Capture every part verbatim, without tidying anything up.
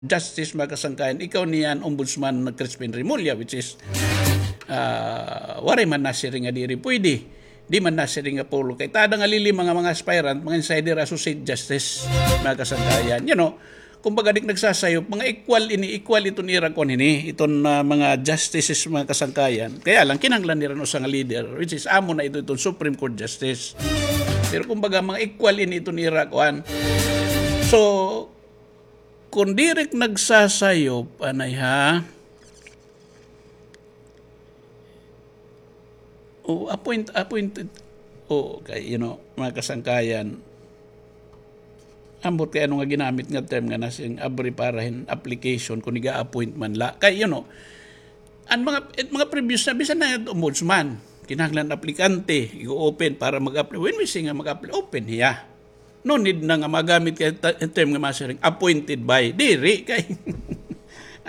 Justice, mga kasangkayan, ikaw niyan, Ombudsman Crispin Remulla, which is, ah, waray man nasiring nga diri pwede. Di man nasiring nga puro. Kay tada nga lilima nga mga aspirant, mga insider, associate justice, mga kasangkayan. You know, kumbaga, di' nagsasayop, mga equal ini, equal iton ira kuan ini, iton, ah, mga justices, mga kasangkayan. Kaya lang, kinahanglan nira usa nga leader, which is amo na ito, iton Supreme Court Justice. Pero kumbaga, mga equal ini iton ira kuan. So, kung diri nagsasayop, anay ha? O, appoint-, appointed. O, kay, you know, mga kasangkayan, ambot kay ano nga ginamit nga term nga nasiring abri para hin application kung iga-appoint man la. Kay, you know, an mga, it mga previous na, bisan na it ombudsman, kinahanglan aplikante, igo-open para mag-apply. When we say nga mag-apply, open hiya. No need na nga magamit kay ta-, term nga masiring, appointed by. Diri kay.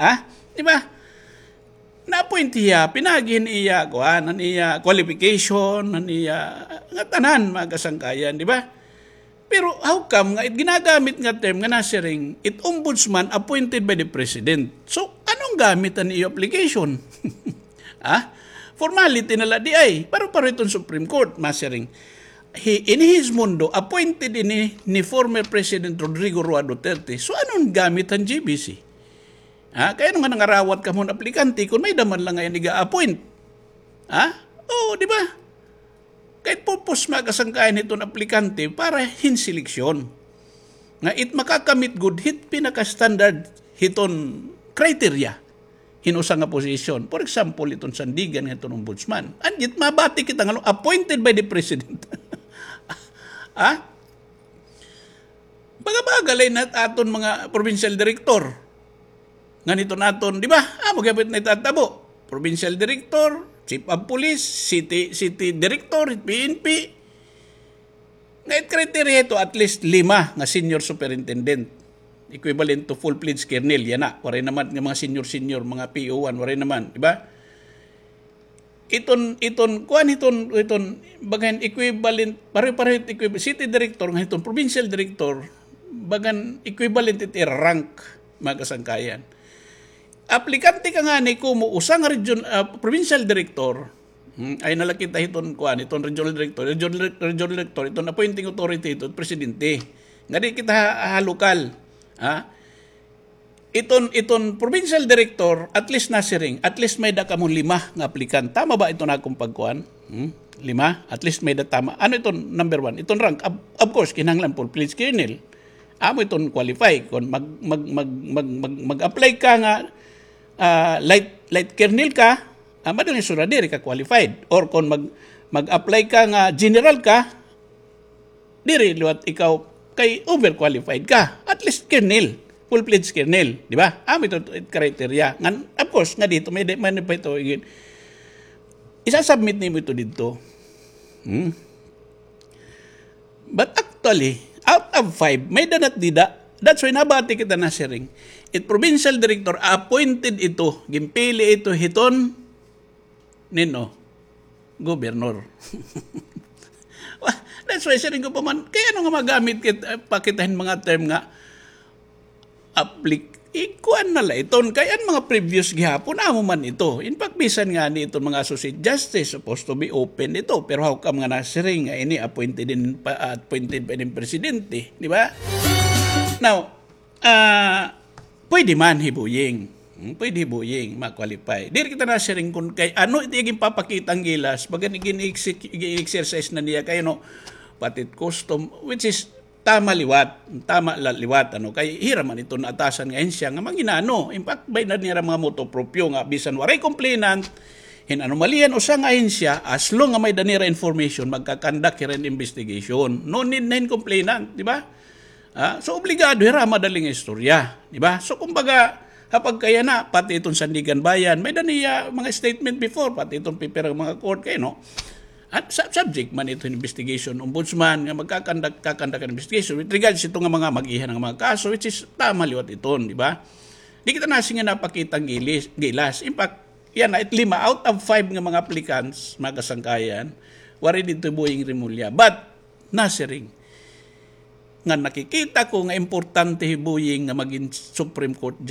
Ha? Di ba? Na-appoint hiya, pinaagi hin iya, kuan, an iya qualification, an iya, nga tanan, mga kasangkayan, di ba? Pero how come nga it ginagamit nga term nga nasiring, it ombudsman appointed by the president? So, anong gamit an iyo application? Ha? Formality na la di ay. Pero, pero iton Supreme Court, masiring. He, ini his mundo, appointed ini ni former President Rodrigo Roa Duterte. So, anong gamit an G B C? Ha? Kay ano nga nangarawat kamo hin aplikante kung may-ada man la nga iga-appoint? Ha? Oo, di ba? Kay purpose, mga kasangkayan, hiton aplikante para hin seleksyon. Nga it makakamit gud hit pinaka-standard hiton criteria hin usa nga posisyon. For example, iton sandigan nga iton ombudsman. And yet, mabati kita nga appointed by the president. Ha? Baga-baga la ini aton mga provincial director. Ngan iton aton, di ba? Amo gihapon it natatabo. Provincial director, chief of police, city, city director, P N P. Nga it criteria ito, at least lima nga senior superintendent. Equivalent to full-fledged colonel, yana. Waray naman nga mga senior-senior, mga P O one, waray naman, di ba? Iton, iton, kuan iton, iton, bagan equivalent, pareho-pareho it equivalent, city director nga iton, provincial director, bagan equivalent it ira rank, mga kasangkayan. Aplikante ka ngani komo usa nga region, ah, provincial director, hmm, ay nalakita hiton, kuan, iton regional director, regional, regional director, iton appointing authority, iton presidente. Nga di kita ha, ha lokal, ha? Iton, iton provincial director, at least nasiring, at least may-ada kamo lima nga applicant. Tama ba iton akon pagkuan? Hmm? Lima? At least may-ada tama. Ano iton number one? Iton rank, of, of course, kinahanglan full-fledged colonel. Amo iton qualify. Kon mag, mag, mag, mag, mag, mag-apply ka nga, ah, light, light colonel ka, ah, madali sura diri ka qualified. Or kon mag, mag-apply ka nga general ka, diri liwat ikaw kay overqualified ka. At least colonel, full-fledged colonel, di ba? Amo ito it criteria. Ngan, of course, nga dito, may, may, may pa ito, again. Isa-submit nimo ito dito. Hmm? But actually, out of five, may-ada na it dida. That's why nabati kita nasiring. It provincial director, appointed ito, ginpili ito hiton, nino, gobernador. Wa-, that's why siring ko pa man, kay ano nga magamit kit-, ah, pa kita hin mga term nga applic-, ikuan na la iton, kay an mga previous gihapon, amo man ito. In fact, bisan ngani iton mga associate justice, supposed to be open ito, pero how come nga nasiring nga ini appointed in, pa-, appointed pa ini presidente, di ba? Now, ah, pwede man hibuying. Hmm, pwede hibuying, ma-qualify. Diri kita nasiring kon kay ano it iya ginpapakita nga gilas, bagan igin-exec-, igin-exercise na niya kay ano, pati it custom, which is tama liwat, tama la liwat, ano, kay hira man ito naatasan nga ahensya nga mangin-ano. In fact, may-ada nira mga motu proprio nga bisan waray complainant, hin anomalya hin usa nga ahensya, as long nga may-ada nira information, magka-conduct hira hin investigation. No need na hin complainant, di ba? Ah, so, obligado hira madali nga istorya, di ba? So, kumbaga, ha pagkayana, pati iton Sandiganbayan, may-ada niya mga statement before, pati iton pipira nga mga court, kay, no? At sa-, subject man ito hin investigation, ombudsman, nga magkakandak-, kakandak an investigation with regards ito nga mga mag-iha nga mga kaso, which is tama liwat iton, di ba? Di kita nasiring nga napakita nga gilis-, gilas. In fact, yana, it lima out of five nga mga applicants, mga kasangkayan, waray didto hi Boying Remulla. But, nasiring, nga nakikita ko nga importante hi Boying nga magin Supreme Court